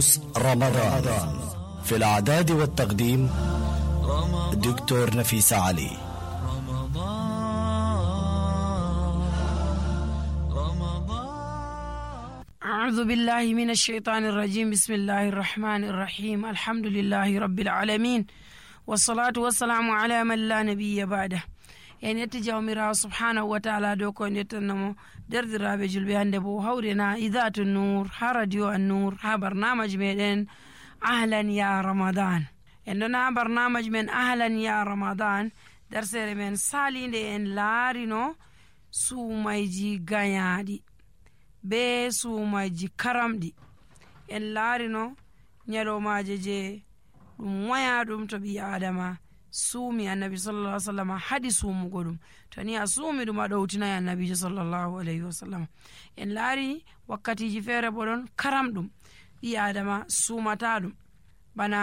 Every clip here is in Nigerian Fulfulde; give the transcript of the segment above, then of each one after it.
دروس رمضان في الإعداد والتقديم دكتور نفيس علي. أعوذ بالله من الشيطان الرجيم. بسم الله الرحمن الرحيم. الحمد لله رب العالمين والصلاة والسلام على من لا نبي بعده. يعني يتجاومر سبحانه وتعالى دوكو نتنمو دردرابي جلبي هندبو هورنا إذات النور ها راديو النور ها برنامج من أهلا يا رمضان. عندنا برنامج من أهلا يا رمضان درسي من سالين إن لارينو سوميجي غيادي be suumaji karamɗi en laarino nyalomaje je ɗum waya ɗum to ɓi adama suumi annabi sallallahu alaihi wasallam haɗi suumugo ɗum to ni a suumi ɗum a ɗowtinayi annabijo sallallahu alaihi wasallam. en laari wakkatiji feere bo ɗon karamɗum ɓi adama suumata ɗum bana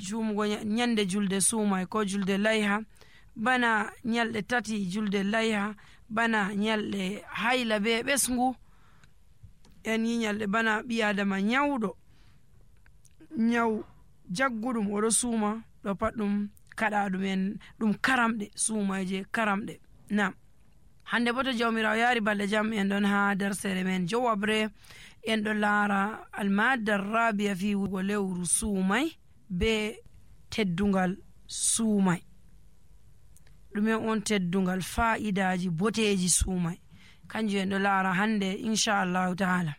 suumugo nyande julde suumay ko julde layha, bana nyalɗe tati julde layha, bana nyalɗe hayla be ɓesngu, en yinyalɗe bana ɓi adama nyawɗo nyaw jagguɗum oɗo suuma ɗo pat ɗum kaɗa ɗum en ɗum karamɗe suumayje karamɗe. Nam hande bo to jawmirawo yaari balɗe jam en ɗon ha darsere men jowabre en ɗo laara almadda rabia fi wugo lewru suumay be teddungal suumay. ɗumen on teddungal fa'idaji boteji suumay kanjum en ɗo laara hande inchallahu taala.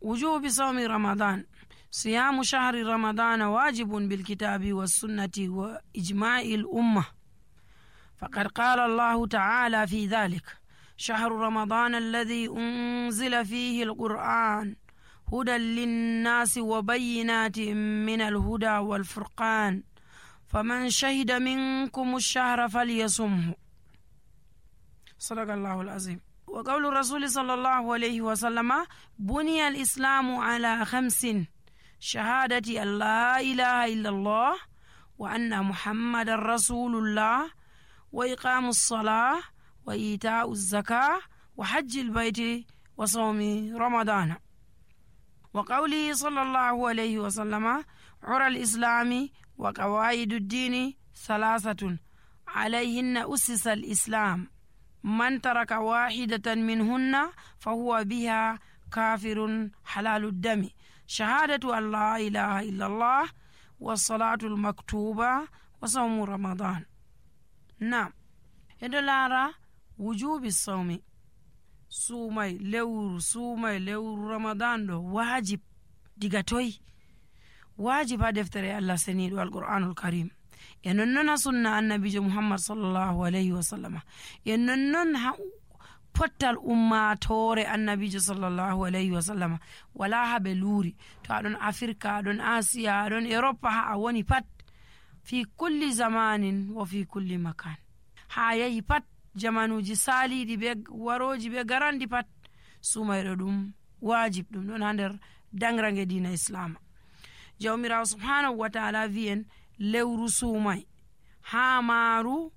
wujubi sawmi ramadan. siyamu shahri ramadana wajibun bilkitabi wassunnati wa ijma'i l'umma faqad qala allahu ta'ala fi dhalik shahru ramadana alladhi unzila fihi alquran hudan linnasi wa bayyinatin min alhuda walfurqan faman shahida minkum ash-shahra falyasumhu. sadaqallahu alazim. وقول الرسول صلى الله عليه وسلم بني الإسلام على 5: شهادة أن لا إله إلا الله وأن محمد رسول الله وإقام الصلاة وإيتاء الزكاة وحج البيت وصوم رمضان. وقوله صلى الله عليه وسلم عرى الإسلام وقواعد الدين 3 عليهن أسس الإسلام من ترك واحدة منهن فهو بها كافر حلال الدم شهادة أن لا إله إلا الله والصلاة المكتوبة وصوم رمضان. نعم يدلارا وجوب الصوم سومي لور رمضان دو واجب ديغاتوي واجب هدفتري الله سنيد والقرآن الكريم. ennon sunna annabijo muhammad sallallahu alaihi wasallam ennon pottal ummatore annabijo sallallahu alaihi wasallam wala habe luuri to adon afrika adon asia adon europa ha a woni pat fi kulli zamanin wa fi kulli makan ha yahi pat jamanuji salidi be waroji be garandi pat sumaydo ɗum wajib ɗum ɗon ha nder dangrange dina islam. jawmirawo subhanahu wa ta'ala wi'en lewru suumay ha maaru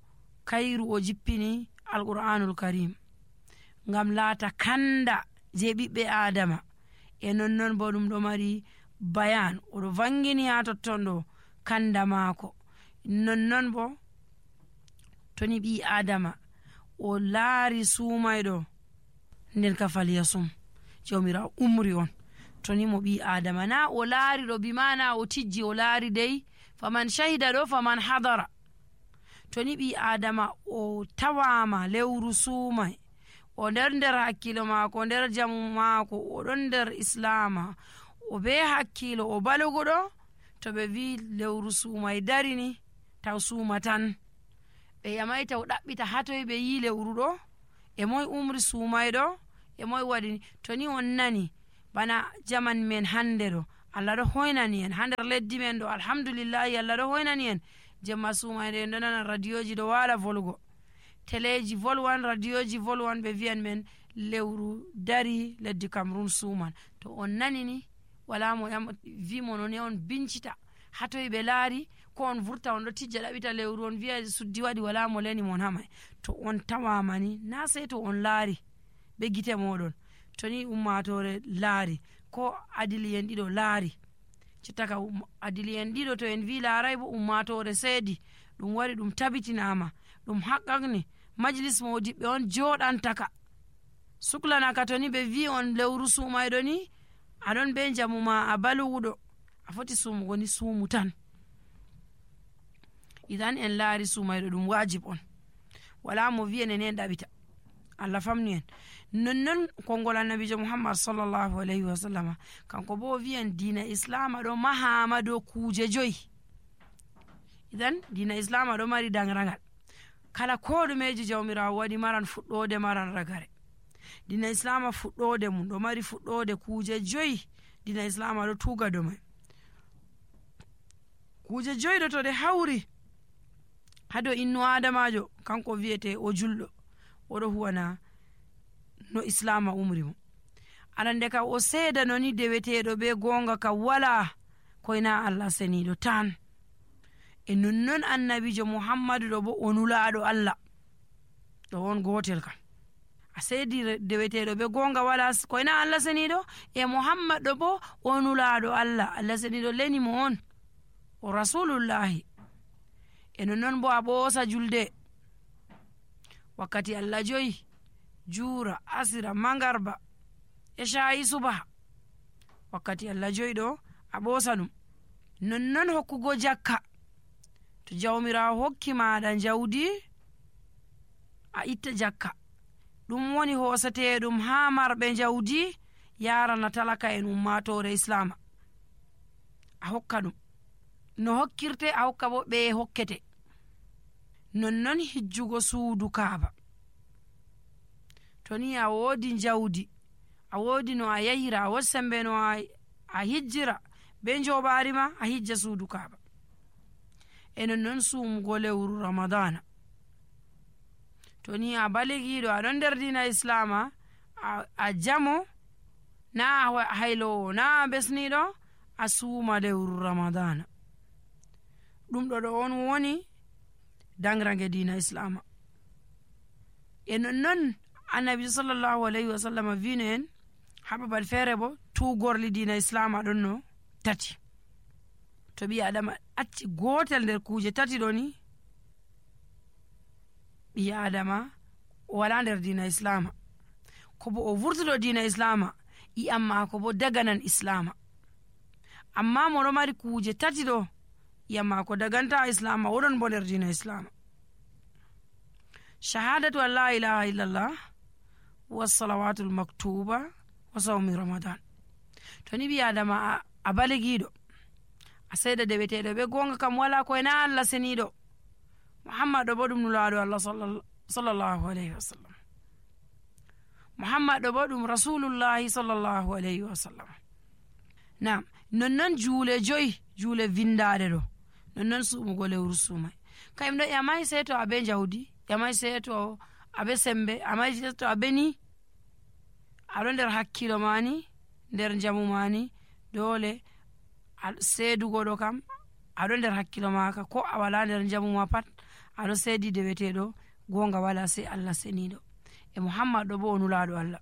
kayru o jippini alqur'anul karim ngam laata kanda je ɓiɓɓe adama e nonnon bo ɗum ɗo mari bayan oɗo vangini ha totton ɗo kanda maako. nonnon bo toni ɓi adama o laari suumayɗo nden ka falyasum jawmirawo umri on toni mo ɓi adama na o laari ɗo bimana o tijji o laari dey faman shahida ɗo faman hadara. toni ɓi adama o tawama lewru suumay o nder hakkilo maako nder jamu maako o ɗon nder islama o be hakkilo o balugo ɗo to ɓe wi lewru suumay darini taw suuma tan ɓe yamaita o ɗaɓɓita hatoy ɓe yi lewru ɗo e moy umri suumay ɗo e moy waɗini. toni on nani bana jaman men hande ɗo Allah ɗo hoynani en ha nder leddi men ɗo alhamdulillahi Allah ɗo hoynani en jemma suumayde en ɗo nana radioji ɗo waala volugo teleji volwan radioji volwan ɓe wiyan men lewru dari leddi Cameroun suuman. to on nani ni wala mo wi mo non on bincita hatoy ɓe laari ko on vurta on ɗo tijja ɗaɓita lewru on wiya suddi waɗi wala mo leni mon hamay. to on tawamani na sey to on laari ɓe gite moɗon to ni ummatore laari ko adili en ɗiɗo laari citta ka adili en ɗiɗo to en wi laaray bo ummatore seedi ɗum wari ɗum tabitinama ɗum haqqaqni majlis modiɓɓe on joɗantaka suklanaka to ni ɓe wi on lewru sumayɗo ni aɗon be jamu ma a baluwuɗo a foti sumugo ni sumu tan. idan en laari sumayɗo ɗum wajib on, wala mo wi'en en ɗaɓita, Allah famni en. nonnon konngol annabijo muhammad sallallahu alayhi wa sallam kanko bo wi'en diina islama ɗo mahama dow kuje joyi. idan diina islama ɗo mari dangragal, kala ko ɗumeji jawmirawo waɗi maran fuɗɗode maran ragare. diina islama fuɗɗode mum ɗo mari fuɗɗode kuje joyi. diina islama ɗo tuga dow mai kuje joyi ɗo to ɗe hawri hado innu adamajo kanko wiyete o julɗo, oɗo huwana no islama umri mo. arande ka o seeda noni deweteɗo be gonga ka wala koyna Allah seniɗo tan. e nonnon annabijo muhammadu ɗo bo o nulaɗo Allah ɗo on gotel kam. a seedi deweteɗo be gonga wala koyna Allah seniɗo, e muhammad ɗo bo o nulaɗo Allah. Allah seniɗo leni mo on o rasulullahi. e nonnon bo a ɓoosa julde wakkati Allah joyi, juura, asira, mangarba e shayi subaha. wakkati Allah joyi ɗo a ɓoosa ɗum. nonnon hokkugo jakka, to jawmirawo hokki maɗa jawdi a itta jakka. ɗum woni hosateɗum ha marɓe jawdi yarana talaka en ummatore islama. a hokka ɗum no hokkirte, a hokka bo ɓe hokkete. nonnon hijjugo suudu kaaba, to ni a woodi jawdi, a woodi no a yahira, a woodi sembe no a hijjira be joɓari ma, a hijja suudu kaaba. e nonnon sumugo lewru ramadana, to ni a baligiɗo aɗon nder dina islama, a jamo na haylowo na besniɗo, a suuma lewru ramadana. ɗum ɗo on woni dangrange dina islama. e nonnon annabi sallallahu alayhi wa sallam vino en ha babal feere bo tugorli dina islama ɗon no tati. to ɓi adama acci gotel nder kuje tati ɗo ni, ɓi adama wala nder dina islama. ko bo o vurtuɗo dina islama, i'am mako bo daganan islama. amma moɗo mari kuje tati ɗo, i'am mako daganta islama, woɗon bo nder dina islama. shahadatu an la ilaha illallah wa salawatul maktuba wa sawmi ramadan. to ni ɓi adama a baligiɗo, a seeda deweteɗo be gonga kam wala koyna Allah seniɗo. muhammad ɗo bo ɗum nulaɗo Allah sallallahu alayhi wa sallam. muhammad ɗo bo ɗum rasulullahi sallallahu alayhi wa sallam. nam nonnon juule joyi, juule vindaɗe ɗo, nonnon sumugo lewru sumai. kayum ɗo yamai sei to abe jawdi, yamai sei to abe sembe, amai sei to abe ni aɗo nder hakkilo mani, nder jamu mani, dole seedugo ɗo kam aɗo nder hakkilo maka. ko a wala nder jamu ma pat aɗo seedi deweteɗo gonga wala sei Allah seniɗo. e muhammad ɗo bo o nulaɗo Allah,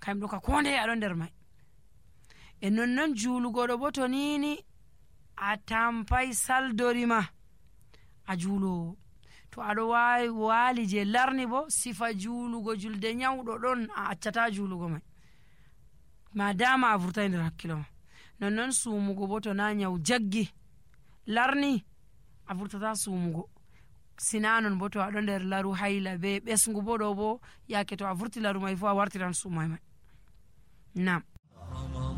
kayum ɗo ka konde aɗo nder mai. e nonnon juulugo ɗo bo to nini a tampai saldorima a juulowo, to aɗo waali je larni bo sifa juulugo julde nyawɗo ɗon, a accata juulugo mai ma dama a vurtai nder hakkilo ma. nonnon sumugo bo to na nyaw jaggi larni, a vurtata sumugo. sinanon bo to aɗo nder laru hayla be ɓesgu bo ɗo bo yake to a vurti laru mai fu a wartiran sumai mai. nam